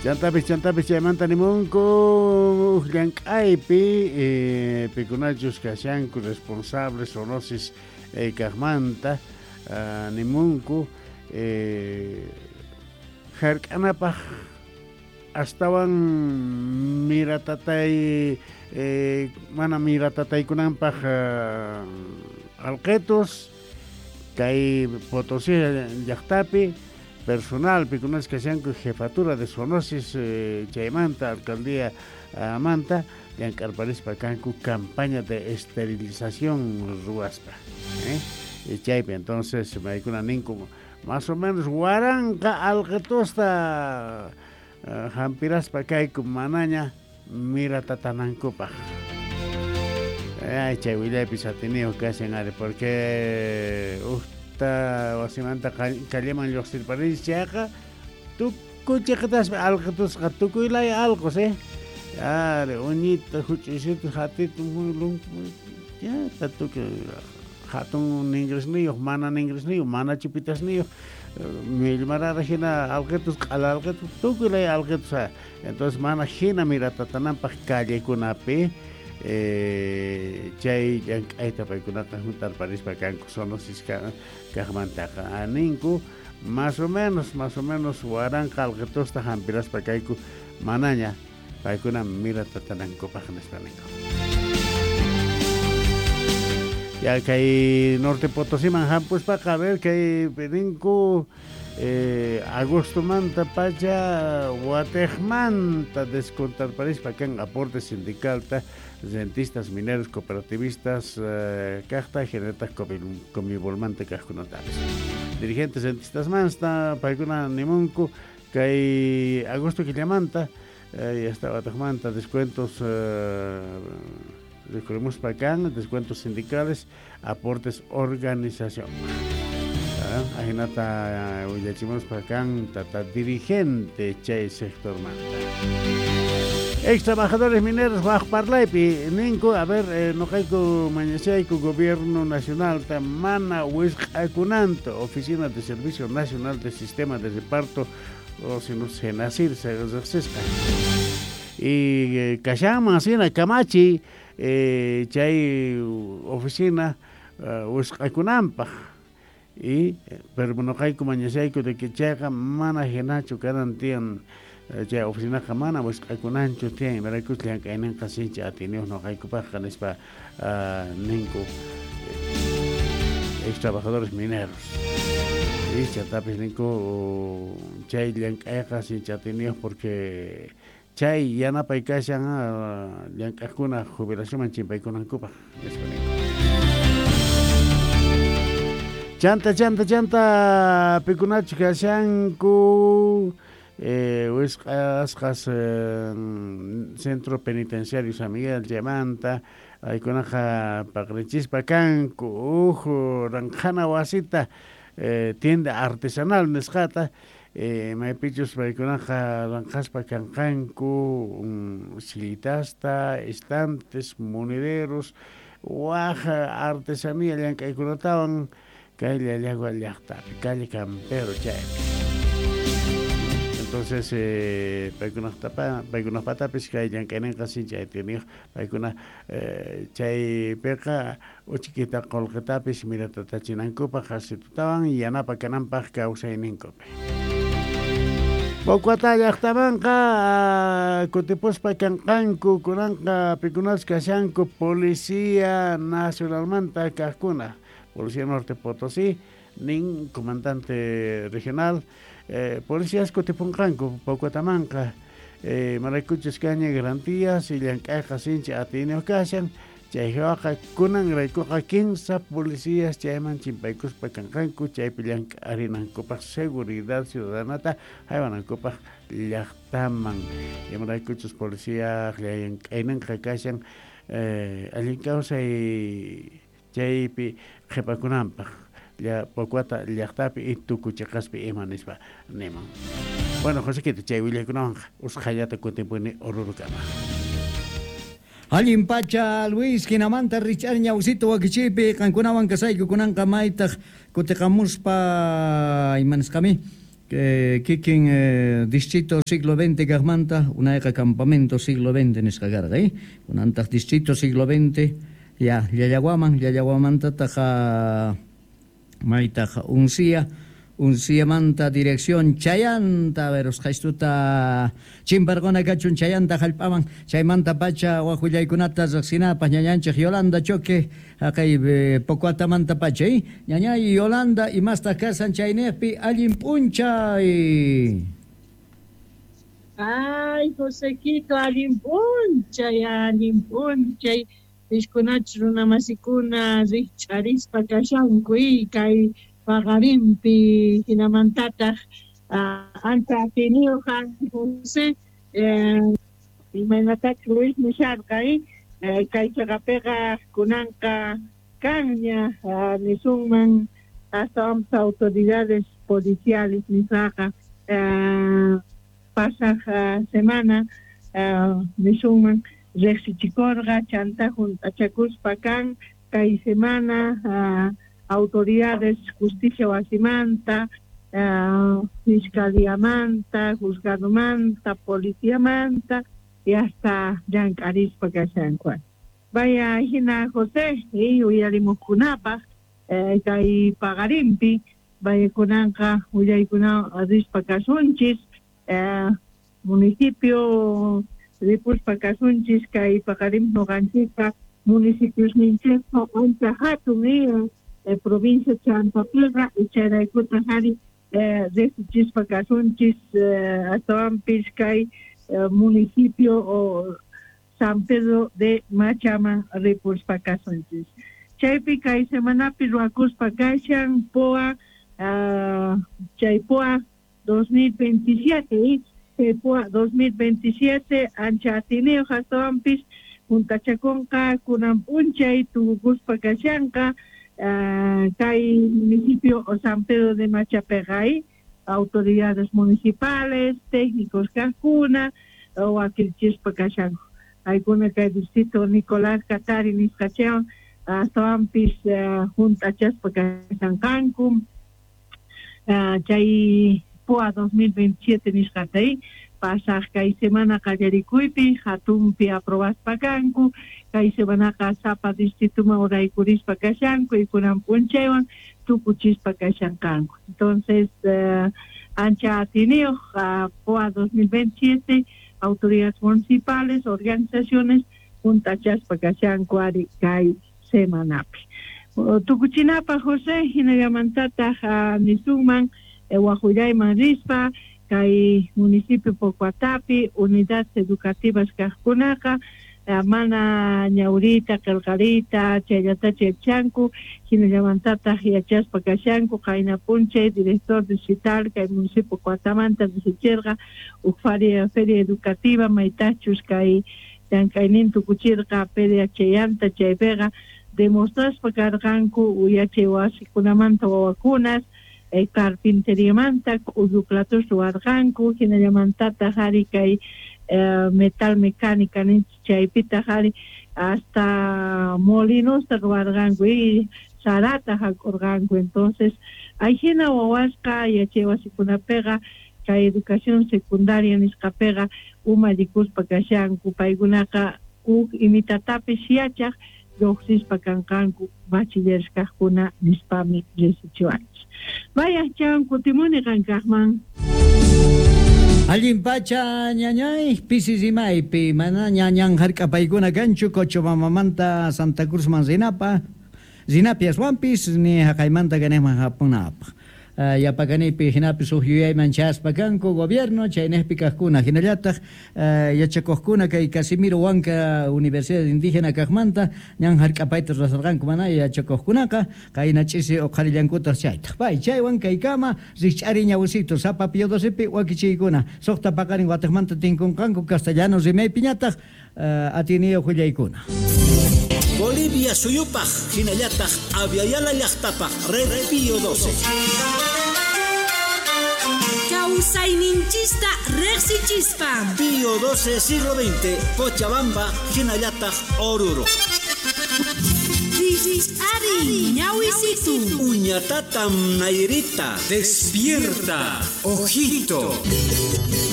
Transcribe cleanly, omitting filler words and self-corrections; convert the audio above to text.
Chantapis chantapis chaymanta nimunku uj llank'aypi eh, pikunachus kashanku responsables zoonosis eh, kajmanta ah, nimunku eh, jark'anapaj astawan miratatay eh, mana miratataykunanpaj ah, alqetus kay Potosí llaqtapi personal pikunas kashanku jefatura de zoonosis eh, chaymanta alcaldía ah, manta llank'arparispa kanku campaña de esterilización ruwaspa eh? Y chaypi entonces maykuna ninku más o menos waranqa alqetusta uh, hampiraspa kayku manaña miratatanankupaj. Ay, chay willaypis atiniyuq kashan ari porque ujta wasimanta calleman lluqsirparinchis chayqa tukuy chiqitaspa alqitusqa tukuy laya alqos eh ari uñita huch'uysitu hatitu ya tukuy hatun ningrisniyuq mana ningrisniyuq mana chupitasniyuq millmarara hina alqitus q'ala alqitus tukuy laya alqitus entonces mana hina miratatananpaq callekunapi eh, chay llank'ayta paykunaqa juntarparispa kanku zoonosis kaqmantaqa ninku más o menos más o menos waranqa alqitusta hampiraspa kayku manaña paykuna miratatanankupaq nispa ninku. Ya kay Norte Potosiman hampuspaqa a ver kay ninku eh, agostomanta pacha watejmanta descontarparispa kan aporte sindicalta rentistas, mineros, cooperativistas eh, kajta hinallataq Comivolmanta kajkunatapis. Dirigentes rentistas manta paykuna nimunku kay agosto killamanta eh, hasta watejmanta descuentos eh, rikhurimuspa kan descuentos sindicales, aportes organización. Ajinata willachimuspa kan tata dirigente chay sectormanta. Ex trabajadores mineros waj parlaypi ninku a ver eh, noqayku mañashayku gobierno nacional ta mana wisq'akunanta oficina de servicio nacional de sistema de reparto o sino SENASIR riqsisqa y eh, kashanman hina kamachiy eh, chay oficina uh, wisq'akunanpaq y pero noqayku mañashayku de que chayqa mana hinachu kanan tiyan chay oficinaqa mana wisq'akunanchu tiyan imaraykus llank'ayninqa sinchi atiyniyuq noqaykupaqqa nispa uh, ninku ex trabajadores mineros y chantapis ninku chay llank'ayqa sinchi atiyniyuq porque chay yanapay kashan llank'aqkuna jubilacionman chimpaykunankupaq nispa ninku. Chanta chanta chanta pikunachu kashanku eh, wisq'asqas eh, centro penitenciario San Miguel chaymanta paykunaqa paqrichispa kanku uj ranqhana wasita eh, tienda artesanal nisqata eh, maypichus paykunaqa ranqhaspa kanqanku um, sillitasta, estantes, monederos, waj artesanía llank'aykunatawan kay Llallagua llaqtapi, calle Campero chaypi. Entonces eh, paykunaqtapa paykunaqpatapis kay llank'ayninqa sinchi atiyniyuq paykuna eh, chaypiqa uchkita qullqitapis miratatachinankupaq qasitutawan yanapa kananpaq kawsayninkupi. Pocuata llaqtamanqa kutipuspa kanqanku kunanqa pikunas kashanku Policía Nacionalmanta kaqkuna Policía Norte Potosí nin comandante regional eh, policías kutipunqanku Pocuatamanqa eh, maraykuchus kaña garantías y llank'ayqa sinchi atiyniyuq kashan chaywaqa kunan raykuqa kinsa policías chayman chimpaykuspa kanqanku chaypi llank'arinankupaq seguridad ciudadanata haywanankupaq llaqtaman imaraykuchus policía llank'ayninqa kashan eh, allin kawsay chaypi qhipakunanpaq Pocuata llaqtapi y tukuy ima nispa niman. Bueno, Josequito, chay willaykunawanqa usqhayllata kutimpuni Orurukama. Allin pacha Luis hinamanta rich'ar ñawsito wakichiypi qankunawan kasayku kunanqa maytaq kutiqamuspa imanisqami Kikin distrito siglo XX kaqmanta unayqa campamento siglo XX nisqa karqa, kunantaq distrito siglo XX ya Llallawaman, Llallawamantataq maytaq Uncía, Unciamanta dirección Chayanta, a ver, usqhaystuta chimparquna kachun Chayanta hallp'aman, chaymanta pacha wak willaykunata riqsinapaq ñañanchik Yolanda Choque, haqay Pocoatamanta pacha, ñañay Yolanda, imastaq kasan chayniqpi allin p'unchay. Ay, Josequito, allin p'unchay, allin p'unchay. Piskunachus runamasikuna rikch'arispa kashanku, kay paqarinpi hinamantataq ancha atiniyuq José, imaynatachus Luis nisharqa, kay chaqapiqa kunanqa kanña nisunman astawanpas autoridades policiales nisqaqa pasaq semana nisunman riqsichikurqa chanta hunt'achakuspa kan kay semana autoridades justicia wasimanta, fiscaliamanta, juzgadomanta, policiamanta y hasta llank'arispa kashanku. Vaya hina José, uyarimuqkunapaq kay paqarinpi vaya kunanqa willaykuna rispa kasunchis municipio ripuspa kasunchis kay paqarinpi nuqanchikpa municipiosninchikpa ancha hatun provincia Chantapiqa ichayraykuta hari riqsichispa kasunchis astawanpis kay municipio o San Pedro de Machaman ripuspa kasunchis. Chaypi kay semanapi ruwakuspa kashan POA chay POA 2027, chay POA 2027 ancha atiniyuq astawanpis juntachakunqa kunan p'unchay tukukuspa kashanqa kay municipio o San Pedro de Machapeqa, autoridades municipales, técnicos kaqkuna wakilchispa kashanku. Aykuna kay distrito Nicolás Katari nisqachawan astawanpis junt'achaspa kashanqanku chay POA 2027 nisqata pasaq kay semana qallarikuypi hatunpi aprobaspa kanku kay semanaqa sapa distrituman uraykurispa kashanku y kunan p'unchaywan tukuchispa kashanqanku. Entonces ancha atiniyuq POA 2027 autoridades municipales, organizaciones junt'achaspa kashanku ari kay semanapi. Tukuchinapaq José hinallamantataq nisunman waqullayman rispa kay municipio Pocoatapi unidades educativas kaqkunaqa mana ñawriyta qillqariyta chayllatacha yachanku hinallamantataq yachaspa kashanku qayna p'unchay director distrital kay municipio Pocoatamanta risichirqa huk feria educativa maytachus kay llank'aynin tukuchirqa PDHyanta chaypiqa demostraspa karqanku yachay wasikunamanta wawakunas carpinteriamanta k'ullu platos ruwarqanku hinallamantataq ari kay metal mecánica ninchik chaypitaq ari hasta molinosta ruwarqanku y sarata hak'urqanku. Entonces ayhina wawasqa yachay wasikunapiqa kay educación secundaria nisqapiqa umallikuspa kashanku paykunaqa huk imitatapis yachaq lluqsispa kanqanku bachilleres kaqkuna nispami risichiwanchik. Vaya chan kutimuni qankaqman. Allin pacha ñañay pisi rimaypi mana ñañan hark'apaykuna kanchu Cochabambamanta Santa Cruzman rinapa rinapi aswanpis ni haqaymanta kanejman hapunapaq. Yapakanipi hinapis huk yuyayman chaspa kanku gobierno chaynejpi kaqkuna hinallataq yachakuqkuna kay Casimiro Huanca Universidad Indígena kaqmanta ñan hark'apayta rurasarqanku mana yachakuqkunaqa qayna ch'isi uqharillankutaq chaytaq. Pay chaywan kaykama rikch'ari ñawusito sapa Pío XII wakichiykuna suqta paqarin watiqmanta tinkunqanku castellano rimaypiñataq atiniyuq willaykuna. Bolivia suyupaq hinallataq Aviala llaqtapaq Red Pío XII. Kawsayninchista riqsichispa. Pío XII siglo XX, Cochabamba hinallataq Oruro. Rijch'ariy, ñawisitu. Uñatatam Nairita. Despierta, ojito.